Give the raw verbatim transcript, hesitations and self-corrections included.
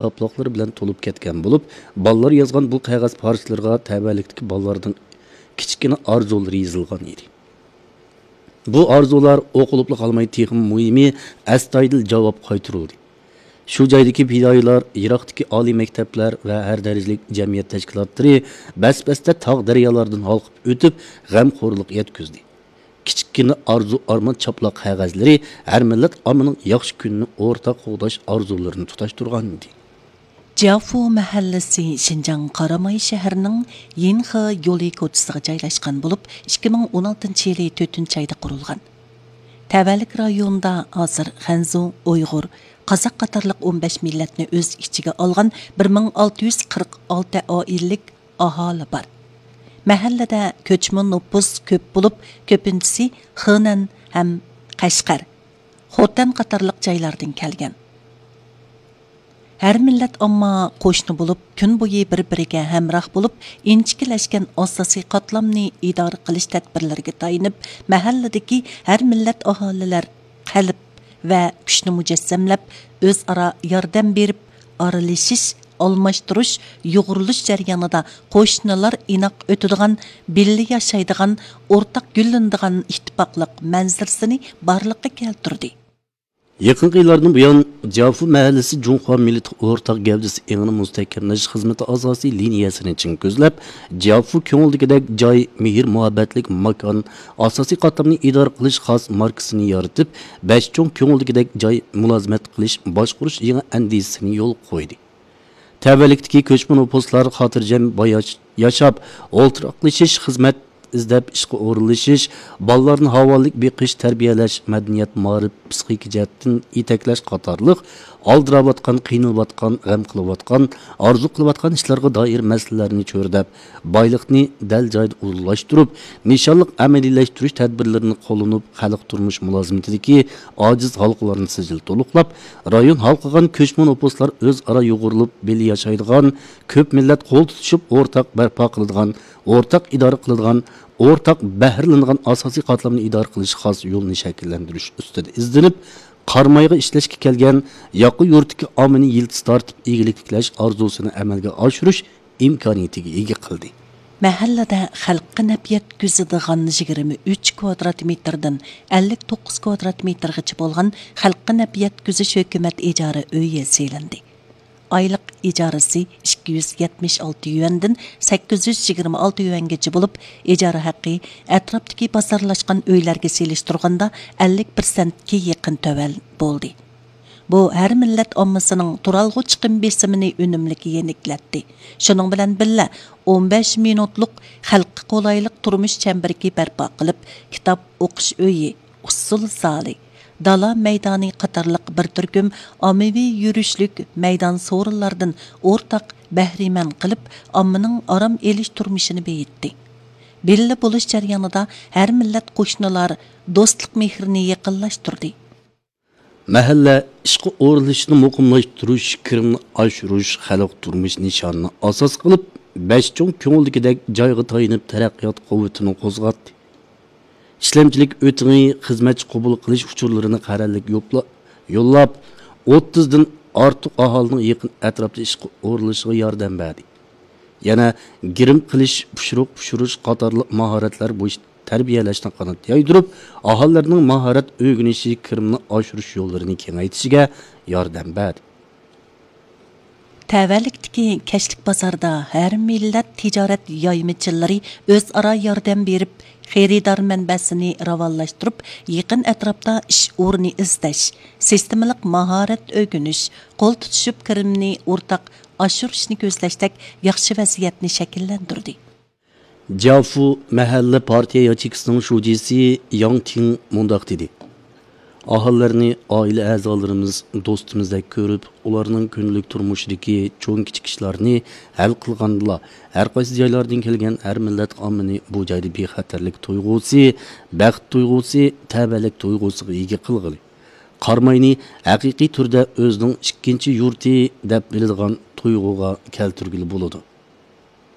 قاپلاقلىرى بىلەن تولۇپ كەتكەن بولۇپ، بالىلار يازغان بۇ قەغەز پارچىلىرىغا تەۋەلىكتىكى بالىلارنىڭ كىچىككىنە ئارزۇلىرى يېزىلغان ئىدى. بۇ ئارزۇلار ئوقۇلۇپلا قالماي، تېخىمۇ مۇھىمى، ئەستايىدىل جاۋاب قايتۇرۇلدى. شۇ جايدىكى پىدائىيلار، يىراقتىكى ئالىي مەكتەپلەر ۋە ھەر دەرىجىلىك جەمئىيەت تەشكىلاتلىرى بەس-بەستە تاغ-دەريالاردىن ھالقىپ ئۆتۈپ، غەمخورلۇق يەتكۈزدى. كىچىككىنە ئارزۇ-ئارمان چاپلاق قەغەزلىرى ھەر مىللەت ئاممىنىڭ ياخشى كۈنىنى ئورتاق قوغداش ئارزۇلىرىنى تۇتاشتۇرغان ئىدى. جيافۇ مەھەللىسى شىنجاڭ قاراماي شەھىرىنىڭ يىنخې يولى كوچىسىغا جايلاشقان بولۇپ، ئىككى مىڭ ئون ئالتىنچى يىلى تۆتىنچى ئايدا قۇرۇلغان. تەۋەلىك رايونىدا ھازىر خەنزۇ، ئۇيغۇر، قازاق قاتارلىق ئون بەش مىللەتنى ئۆز ئىچىگە ئالغان بىر مىڭ ئالتە يۈز قىرىق ئالتە ئائىلىلىك ئاھالى بار. مەھەللىدە كۆچمە نوپۇس كۆپ بولۇپ، كۆپىنچىسى خېنەن ھەم قەشقەر، خوتەن قاتارلىق جايلاردىن كەلگەن. ھەر مىللەت ئامما قوشنا بولۇپ، كۈن بويى بىر-بىرىگە ھەمراھ بولۇپ، ئىنچىكىلەشكەن ئاساسىي قاتلامنى ئىدارە قىلىش تەدبىرلىرىگە تايىنىپ، مەھەللىدىكى ھەر مىللەت ئاھالىلەر قەلب ۋە كۈچنى مۇجەسسەملەپ، ئۆزئارا ياردەم بېرىپ، ئارىلىشىش، ئالماشتۇرۇش، يۇغۇرۇلۇش جەريانىدا قوشنىلار ئىناق ئۆتىدىغان، بىللە ياشايدىغان، ئورتاق گۈللىنىدىغان ئىتتىپاقلىق مەنزىرىسىنى بارلىققا كەلتۈردى. يېقىنقى يىللاردىن بۇيان، جيافۇ مەھەللىسى جۇڭخۇا مىللىتى ئورتاق گەۋدىسى ئېڭىنى مۇستەھكەملەش خىزمىتى ئاساسىي لىنىيەسىنى چىڭ كۆزلەپ، جيافۇ كۆڭۈلدىكىدەك جاي، مېھىر-مۇھەببەتلىك ماكان، ئاساسىي قاتلامنى ئىدارە قىلىش خاس ماركىسىنى يارىتىپ، بەش چوڭ كۆڭۈلدىكىدەك جاي مۇلازىمەت قىلىش، باشقۇرۇش يېڭى ئەندىزىسىنى يولغا قويدى. تەۋەلىكتىكى كۆچمە نوپۇسلار خاتىرجەم باياش-، ياشاپ، ئولتۇراقلىشىش، خىزمەت ئىزدەپ ئىشقا ئورۇنلىشىش، بالىلارنى ھاۋالىك بېقىش، تەربىيەلەش، مەدەنىيەت، مائارىپ، پسىخىكا جەھەتتىن يېتەكلەش قاتارلىق ئالدىراۋاتقان، قىينىلىۋاتقان، غەم قىلىۋاتقان، ئارزۇ قىلىۋاتقان ئىشلارغا دائىر مەسىلىلەرنى چۆرىدەپ، بايلىقنى دەل جايىدا ئورۇنلاشتۇرۇپ، نىشانلىق ئەمەلىيلەشتۈرۈش تەدبىرلىرىنى قوللىنىپ، خەلق تۇرمۇش مۇلازىمىتىدىكى ئاجىز ھالقىلارنى سىجىل تولۇقلاپ، رايون ھالقىغان كۆچمە نوپۇسلار ئۆزئارا يۇغۇرۇلۇپ، بىللە ياشايدىغان، كۆپ مىللەت قول تۇتۇشۇپ ئورتاق بەرپا قىلىدىغان، ئورتاق ئىدارە قىلىدىغان، ئورتاق بەھرىلىنىدىغان ئاساسىي قاتلامنى ئىدارە قىلىش خاس يولىنى شەكىللەندۈرۈش ئۈستىدە ئىزدىنىپ، قارامايغا ئىشلەشكە كەلگەن ياقا يۇرتتىكى ئاممىنى يىلتىز تارتىپ، ئىگىلىك تىكلەش ئارزۇسىنى ئەمەلگە ئاشۇرۇش ئىمكانىيىتىگە ئىگە قىلدى. مەھەللىدە خەلققە نەپ يەتكۈزىدىغان يىگىرمە ئۈچ كۋادرات مېتىردىن ئەللىك توققۇز كۋادرات مېتىرغىچە بولغان خەلققە نەپ يەتكۈزۈش ھۆكۈمەت ئىجارە ئۆيى سېلىندى. ئايلىق ئىجارىسى ئىككى يۈز يەتمىش ئالتە يۈەندىن سەككىز يۈز يىگىرمە ئالتە يۈەنگىچە بولۇپ، ئىجارە ھەققى ئەتراپتىكى بازارلاشقان ئۆيلەرگە سېلىشتۇرغاندا ئەللىك پىرسەنتكە يېقىن تۆۋەن بولدى. بۇ ھەر مىللەت ئاممىسىنىڭ تۇرالغۇ چىقىم بېسىمىنى ئۈنۈملۈك يېنىكلەتتى. شۇنىڭ بىلەن بىللە، ئون بەش مىنۇتلۇق خەلققە قولايلىق تۇرمۇش چەمبىرىكى بەرپا قىلىپ، كىتاب ئوقۇش ئۆيى، ئۇسسۇل زالى، دالا مەيدانى قاتارلىق بىر تۈركۈم ئاممىۋى يۈرۈشلۈك مەيدان سورۇنلاردىن ئورتاق بەھرىمەن قىلىپ، ئاممىنىڭ ئارام ئېلىش تۇرمۇشىنى بېيىتتى. بىللە بولۇش جەريانىدا ھەر مىللەت قوشنىلار دوستلۇق مېھرىنى يېقىنلاشتۇردى. مەھەللە ئىشقا ئورۇنلىشىشنى مۇقىملاشتۇرۇش، كىرىمنى ئاشۇرۇش، خەلق تۇرمۇش نىشانىنى ئاساس قىلىپ، بەش چوڭ كۆڭۈلدىكىدەك جايغا تايىنىپ تەرەققىيات قۇۋۋىتىنى قوزغاتتى. ئىشلەمچىلىك ئۆتىڭى، خىزمەتچى قوبۇل قىلىش ئۇچۇرلىرىنى قەرەللىك يوپلا-، يوللاپ، ئوتتۇزدىن ئارتۇق ئاھالىنىڭ يېقىن ئەتراپتا ئىشقا ئورۇنلىشىشىغا ياردەم بەردى. يەنە گىرىم قىلىش، پۇشۇرۇق پۇشۇرۇش قاتارلىق ماھارەتلەر بويىچە تەربىيەلەشنى قانات يايدۇرۇپ، ئاھالىلەرنىڭ ماھارەت ئۆگىنىشى، كىرىمنى ئاشۇرۇش يوللىرىنى كېڭەيتىشىگە ياردەم بەردى. تەۋەلىكتىكى كەچلىك بازاردا ھەر مىللەت تىجارەت يايمىچىلىرى ئۆزئارا ياردەم بېرىپ، خېرىدار مەنبەسىنى راۋانلاشتۇرۇپ، يېقىن ئەتراپتا ئىش ئورنى ئىزدەش، سىستېمىلىق ماھارەت ئۆگىنىش، قول تۇتۇشۇپ كىرىمنى ئورتاق ئاشۇرۇشنى كۆزلەشتەك ياخشى ۋەزىيەتنى شەكىللەندۈردى. جيافۇ مەھەللە پارتىيە ياچېيكىسىنىڭ شۇجىسى ياڭ تىڭ مۇنداق دېدى: ئاھالىلەرنى ئائىلە ئەزالىرىمىز، دوستىمىزدەك كۆرۈپ، ئۇلارنىڭ كۈندىلىك تۇرمۇشىدىكى چوڭ-كىچىك ئىشلارنى ھەل قىلغاندىلا، ھەر قايسى جايلاردىن كەلگەن ھەر مىللەت ئاممىنى بۇ جايدا بىخەتەرلىك تۇيغۇسى، بەخت تۇيغۇسى، تەۋەلىك تۇيغۇسىغا ئىگە قىلغىلى، قاراماينى ھەقىقىي تۈردە ئۆزىنىڭ ئىككىنچى يۇرتى دەپ بىلىدىغان تۇيغۇغا كەلتۈرگىلى بولىدۇ.